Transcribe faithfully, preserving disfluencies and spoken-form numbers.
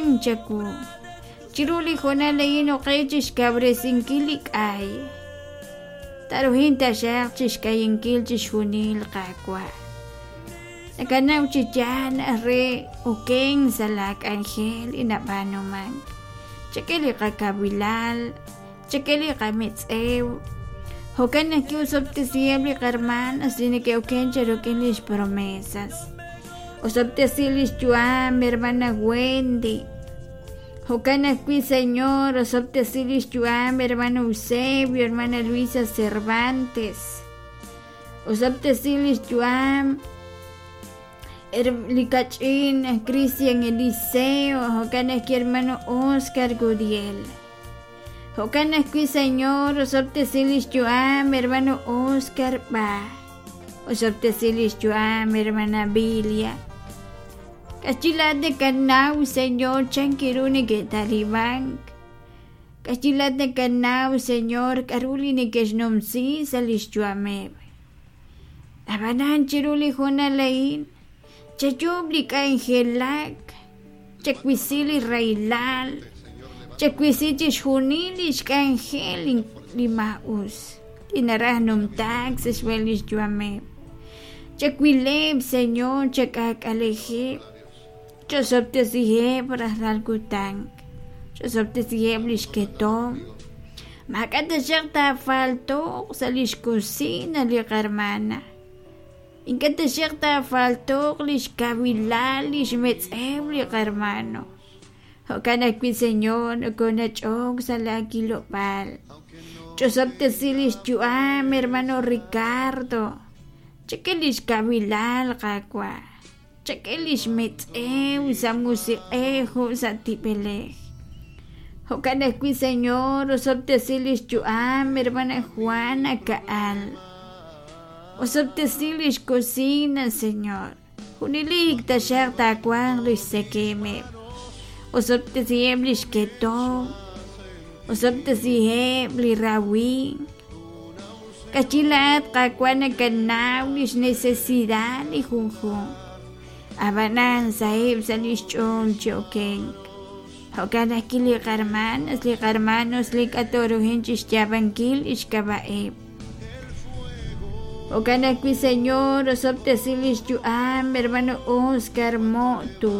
Na'ajmank chawu. Chiru li hoonal a'in oqe chi xkawresinkil li k'ay. Taruhin taxaq chi xk'ayinkil chixjunil Qaawa'. Nakanaw chi yaal re okenk sa' laak'anjel li nab'aanumank. Chak'e li qakawilal, chak'e li qametz'ew. Jo'kan naq ki'osob'tesiheb' li qarmanas li neke'oken cha rik'in lix promesas. Osob'tesi lix yu'am hermana Wendy. Jo'kan ajwi' Señor, osob'tesi lix yu'am hermano Eusebio, hermana Luisa Cervantes. Osob'tesi lix yu'am li kach'in Cristian Eliseo, jo'kan ajwi' hermano Oscar Gudiel. Jo'kan ajwi' Señor, osob'tesi lix yu'am hermano Oscar Ba. Osob'tesi lix yu'am hermana Bilia. K'achilaat nakanaw Señor chan kiru neke'talibank. K'achilaat nakanaw Señor k'aru li neke'xnumsi sa' lix yu'ameb'. Ab'anan chiru li hoonal a'in chayuub' li k'anjelak, chawisi li rahilal, chawisi chixjunil lix k'anjel li maa'us li naraj numtaak sa' xb'een lix yu'ameb'. Chawileb' Señor, chak'aak'alejeb', chosob'tesiheb' rajlal kutan, chosob'tesiheb' lix ketom. Maak'a' taxaq taafalto'q sa' lix cocina li qarmana. Ink'a' taxaq taafalto'q lix kawilal lix metz'ew li qarmano. Jo'kan ajwi' Señor nokonach'ok sa' laakilob'aal. Ch'osob'tesi lix yu'am hermano Ricardo. Chak'e lix kawilal Qaawa'. Chak'e lix metz'ew sa' musiq'ej jo' sa' tib'elej. Jo'kan ajwi' Señor osob'tesi lix yu'am hermana Juana Ka'al. Osob'tesi lix cocina Señor. Junelik taxaq taawanq lix tzekemeb'. Osob'tesiheb' lix ketom. Osob'tesiheb' li rawin. K'achilaat Qaawa' nakanaw lix necesidad li junjunq. Ab'anan saheb' sa' lix ch'ool chi okenk. Jo'kan ajwi' li qarmanas, li qarmanos li k'atoruhin chi xyaab'ankil lix k'ab'a'eb'. Jo'kan ajwi' Señor osob'tesi lix yu'am hermano Oscar Motus.